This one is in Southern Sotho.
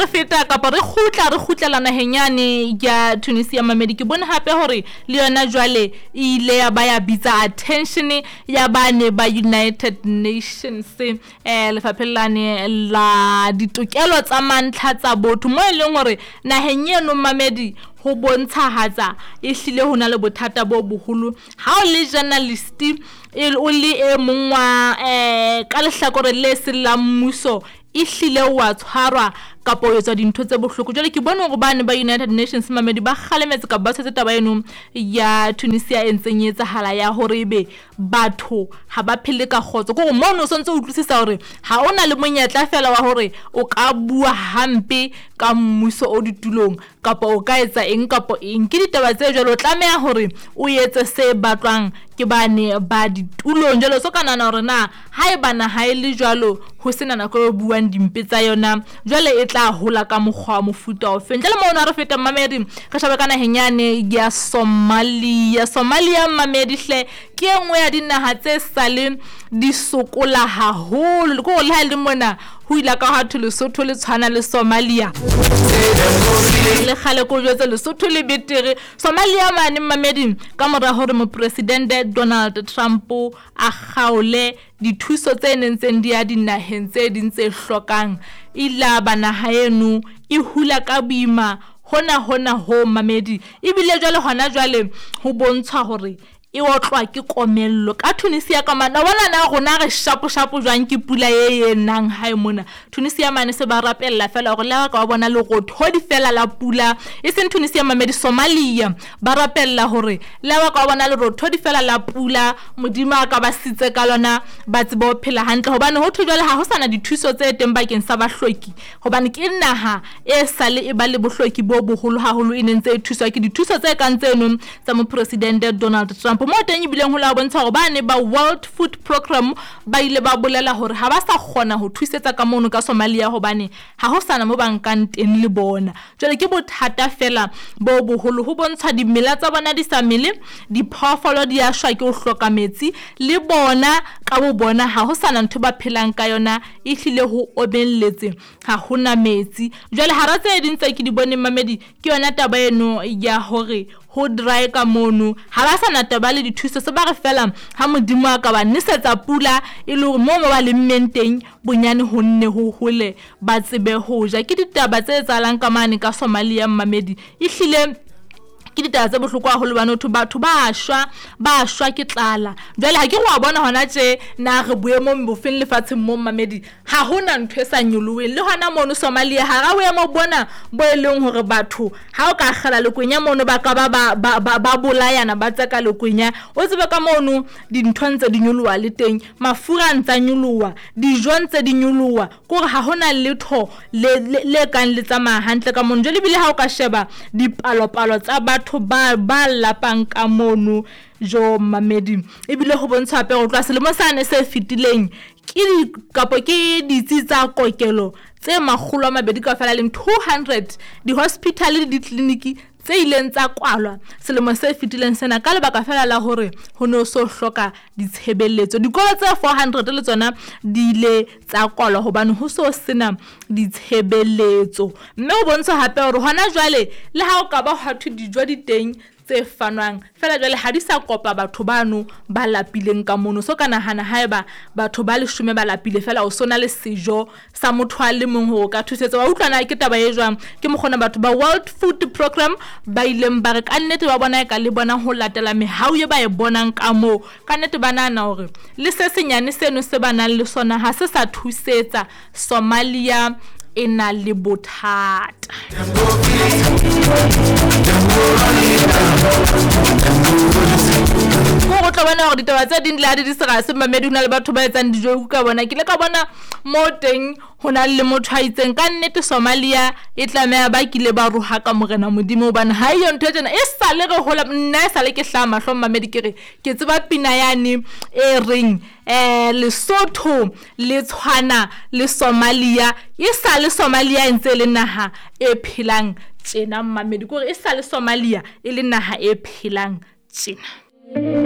re feta kapa re kgutla re kgutlela naheng yane ya Tunisia mamedi, ke bone hape hore le yona jwale e ile ya ba ya bitsa attention ya bane ba United Nations lefapheng lane la ditokelo tsa mantlha tsa botho, mo e leng hore naheng eno mamedi ho bontshahatsa e hlile ho na le bothata bo boholo. Ha o le journalist o le e mong wa ka lehlakoreng le seng la mmuso, e hlile wa tshwarwa kapa o etswa dintho tse bohloko. Jwale ke bone hore bane ba United Nations mamedi ba kgalemetse kapa ba tshwetse taba eno ya Tunisia e ntseng e etsahala ya hore ebe batho ha ba phele ka kgotso. Ke hore mono o sontso o utlwisisa hore ha o na le monyetla fela wa hore o ka bua hampe ka mmuso o ditulong kapa o ka etsa eng kapa eng. Ke ditaba tse jwalo, o tlameha hore o etse se batlwang ke bane ba ditulong. Jwale o so ka nahana hore na haeba naha e le jwalo ho sena nako e buang dimpe tsa yona, jwale e tla hola ka mokgwa wa mofuta ofe. Ntle le mono ha re feta mamedi, re shebe ka naheng yane ya Somalia. Somalia mamedi hle ke e nngwe ya dinaha tse sale di sokola haholo. Ke hore le ha e le mona ho ile ka ha thwe Lesotho le tshwana le Somalia, le kgale ko jwetse Lesotho le betere. Somalia mane mamedi, ka mora hore mopresidente Donald Trump a kgaole dithuso tse nentseng di ya dinaheng tse ding tse hlokang, ile ba naha eno e hula ka boima hona hona ho mamedi. Ebile jwale hona jwale ho bontshwa hore e otlwa ke komello ka Tunisia ka mane. Wa bona na rona re shapo shapo jwang ke pula e e nang hae mona. Tunisia mane se ba rapella fela hore le ha ka ba bona lerothodi fela la pula, e seng Tunisia mamedi, Somalia ba rapella hore le ha ka ba bona lerothodi fela la pula, Modimo a ka ba sitse ka lona, ba tsebe ho phela hantle. Hobane ho thwe jwale ha ho sana dithuso tse teng bakeng sa bahloki, hobane ke naha e sale e ba le bohloki bo boholo haholo, e nentse e thuswa ke dithuso tse kang tseno tsa mopresidente Donald Trump. Mo teng ebileng ho la bontsha hore bane ba World Food Programme ba ile ba bolela hore ha ba sa kgona ho thusetsa ka mono ka Somalia, hobane ha ho sana mo ba nkang teng le bona. Jwale ke bothata fela bo boholo, ho bontsha dimela tsa bona di sa mele, diphoofolo di a shwa ke ho hloka metsi, le bona ka bo bona ha ho sana ntho ba phelang ka yona, e hlile ho omelletse, ha hona metsi. Jwale hara tse ding tse ke di boneng mamedi, ke yona taba eno ya hore ho dry ka mono, ha ba sana taba le dithuso, se ba re fela ha Modimo a ka ba nesetsa pula e le hore moo mo ba lemmeng teng bonyane ho nne ho hole ba tsebe ho ja. Ke ditaba tse etsahalang ka mane ka Somalia mamedi, e hlile ke ditaba tse bohloko haholo hobane ho batho ba shwa, ba shwa ke tlala. Jwale ha ke re wa bona hona tje na re boemong bofeng lefatsheng mo mamedi, ha hona ntho e sa nyoloheng. Le hona mono Somalia hara boemo bona bo e leng hore batho ha o ka kgela lekwenya mono ba ka ba bolayana, ba tseka lekwenya, o tsebe ka mono dintho ntse di nyoloha le teng, mafura a ntsa nyoloha, dijo ntse di nyoloha, ke hore ha hona letho le kang le tsamaya hantle ka mono. Jwale ebile ha o ka sheba dipalopalo tsa batho ba lapang ka mono jo mamedi, ebile ho bontsha hape hore tloha selemo sane se fetileng ke kapo ke ditsi tsa kokelo tse 200 kaofela leng 200 di-hospital le ditleliniki tse ileng tsa kwalwa selemo se fetileng sena ka lebaka fela la hore ho no so hloka ditshebeletso. Dikolo tse 400 le tsona di ile tsa kwalwa hobane ho so sena ditshebeletso. Mme ho bontsha hape hore hona jwale le ha o ka ba hwa thwe dijo di teng tse fanwang fela jwale ha di sa kopa batho bano ba lapileng ka mono. So ka nahana haeba batho ba 10 ba lapile fela o sona le sejo sa motho a le mong hore o ka thusetsa. Wa utlwana ke taba e jwang? Ke mokgona batho ba World Food Programme ba ileng ba re ka nnete ba bona e ka le bona ho latela mehau e ba e bonang ka moo, ka nnete ba nahana hore le se senyane seno se ba nang le sona ha se sa thusetsa. Somalia e na le bothata. Ko tlo bona hore ditaba tse ding le ha di di serase mamedi, ho na le batho ba etsang dijo ka bona. Ke ile ka bona mo teng ho na le motho a itseng ka nnete Somalia e tlameha ba kile ba roha ka morena Modimo, hobane ha eyo ntho e tjena e sale re hola. Nna e sale ke hlaha mahlong mamedi, ke re ke tseba pina yane e reng Lesotho le tshwana le Somalia, e sale Somalia e ntse le naha e phelang tjena mamedi, ke hore e sale Somalia e le naha e phelang tjena.